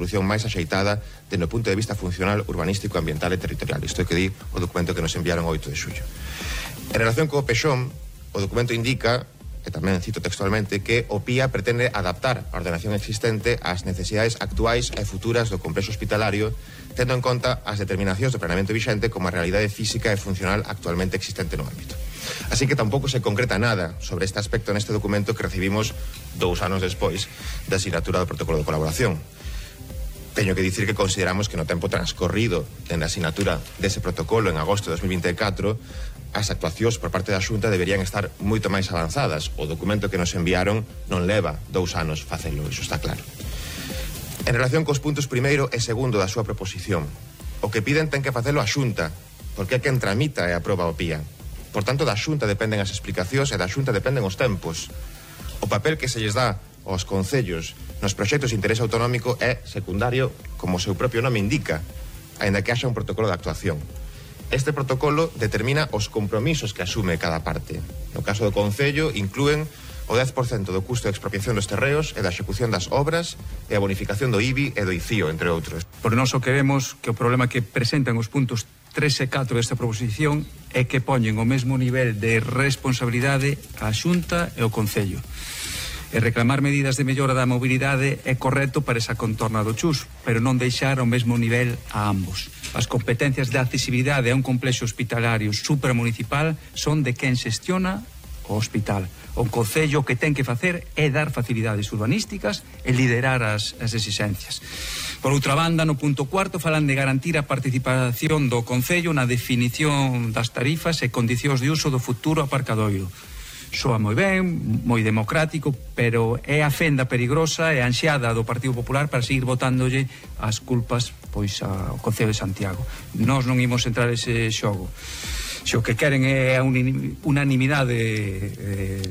solución máis axeitada dende o punto de vista funcional, urbanístico, ambiental e territorial. Isto é que di o documento que nos enviaron o 8 de xullo. En relación co Pexón, o documento indica, e tamén cito textualmente, que o PIA pretende adaptar a ordenación existente ás necesidades actuais e futuras do complexo hospitalario, tendo en conta as determinacións do planeamento vixente como a realidade física e funcional actualmente existente no ámbito. Así que tampouco se concreta nada sobre este aspecto neste documento que recibimos 2 anos despois da asinatura do protocolo de colaboración. Teño que dicir que consideramos que no tempo transcorrido dende a asinatura dese protocolo en agosto de 2024 as actuacións por parte da Xunta deberían estar moito máis avanzadas. O documento que nos enviaron non leva 2 anos facelo, iso está claro. En relación cos puntos primeiro e segundo da súa proposición, o que piden ten que facelo a Xunta, porque é quen tramita e aproba o PIA. Por tanto, da Xunta dependen as explicacións e da Xunta dependen os tempos. O papel que se lles dá aos concellos nos proxectos de interés autonómico é secundario, como o seu propio nome indica, aínda que haxa un protocolo de actuación. Este protocolo determina os compromisos que asume cada parte. No caso do concello, inclúen o 10% do custo de expropiación dos terreos e da execución das obras e a bonificación do IBI e do ICIO, entre outros. Por noso queremos que o problema que presentan os puntos 3 e 4 desta proposición é que poñen o mesmo nivel de responsabilidade a Xunta e o Concello. E reclamar medidas de mellora da mobilidade é correcto para esa contorna do Chus, pero non deixar ao mesmo nivel a ambos. As competencias de accesibilidade a un complexo hospitalario supramunicipal son de quen xestiona o hospital. O Concello que ten que facer é dar facilidades urbanísticas e liderar as exixencias. Por outra banda, no punto 4 falan de garantir a participación do Concello na definición das tarifas e condicións de uso do futuro aparcadoiro. Soa moi ben, moi democrático, pero é a fenda perigosa e ansiada do Partido Popular para seguir botándolle as culpas pois ao Concello de Santiago. Nós non imos entrar ese xogo. Se o que queren é a unanimidade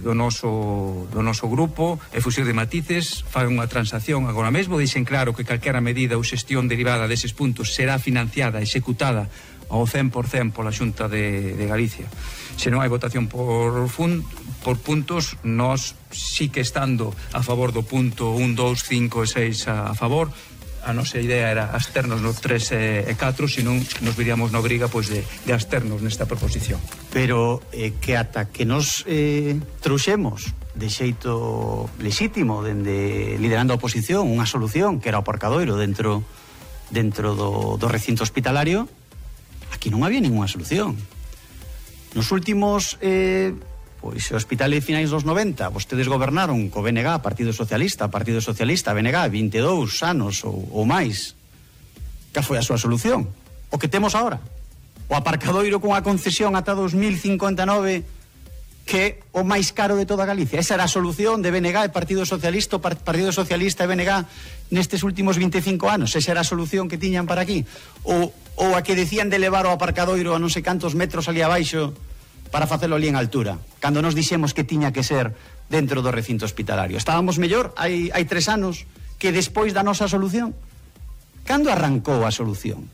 do noso grupo e fuxir de matices, fagan unha transacción agora mesmo, deixen claro que calquera medida ou xestión derivada deses puntos será financiada e executada ao 100% pola Xunta de Galicia. Se non hai votación por puntos, nós sí que estando a favor do punto 1, 2, 5 e 6 a favor. A nosa idea era absternos no 3 e 4, senón nos viríamos na obriga pois de absternos nesta proposición. Pero que ata que nos trouxemos de xeito lexítimo dende liderando a oposición unha solución que era o aparcadoiro dentro do recinto hospitalario, aquí non había ninguna solución. Nos últimos pois o hospital de finais dos 90 vostedes gobernaron co BNG, Partido Socialista, BNG, 22 anos ou máis. Que foi a súa solución? O que temos agora, o aparcadoiro con a concesión ata 2059, que é o máis caro de toda Galicia. Esa era a solución de BNG e Partido Socialista e BNG nestes últimos 25 anos. Esa era a solución que tiñan para aquí. Ou a que decían de levar o aparcadoiro a non sei cantos metros ali abaixo para facelo ali en altura, cando nos dixemos que tiña que ser dentro do recinto hospitalario. Estábamos mellor hai 3 anos que despois da nosa solución. Cando arrancou a solución?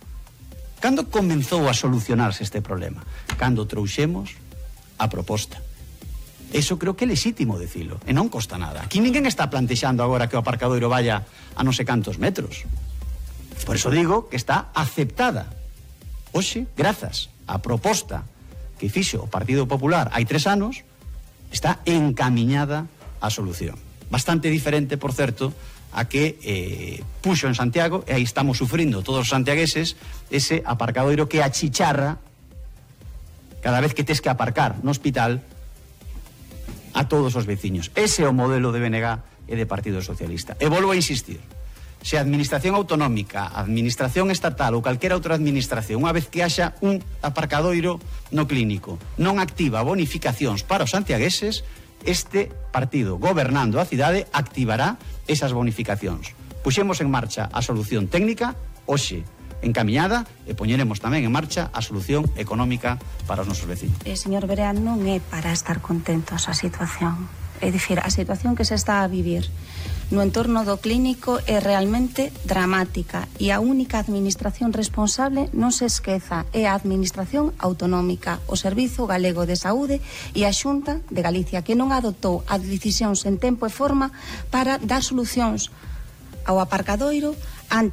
Cando comenzou a solucionarse este problema? Cando trouxemos a proposta. Eso creo que é lexítimo dicilo, e non costa nada. Aquí ninguén está plantexando agora que o aparcadoiro vaya a non sei cantos metros. Por eso digo que está aceptada. Hoxe, grazas á proposta que fixo o Partido Popular hai 3 anos, está encamiñada a solución. Bastante diferente, por certo, a que puxo en Santiago, e aí estamos sufrindo todos os santiagueses, ese aparcadoiro que achicharra cada vez que tes que aparcar no hospital a todos os veciños. Ese é o modelo de BNG e de Partido Socialista. E volvo a insistir, se a administración autonómica, a administración estatal ou calquera outra administración, unha vez que haxa un aparcadoiro no clínico, non activa bonificacións para os santiagueses, este partido gobernando a cidade activará esas bonificacións. Puxemos en marcha a solución técnica, hoxe encamiñada, e poñeremos tamén en marcha a solución económica para os nosos vecinos. Señor Berea, non é para estar contentos a situación. É dicir, a situación que se está a vivir no entorno do clínico é realmente dramática, e a única administración responsable, non se esqueza, é a administración autonómica, o Servizo Galego de Saúde e a Xunta de Galicia, que non adoptou as decisións en tempo e forma para dar solucións ao aparcadoiro,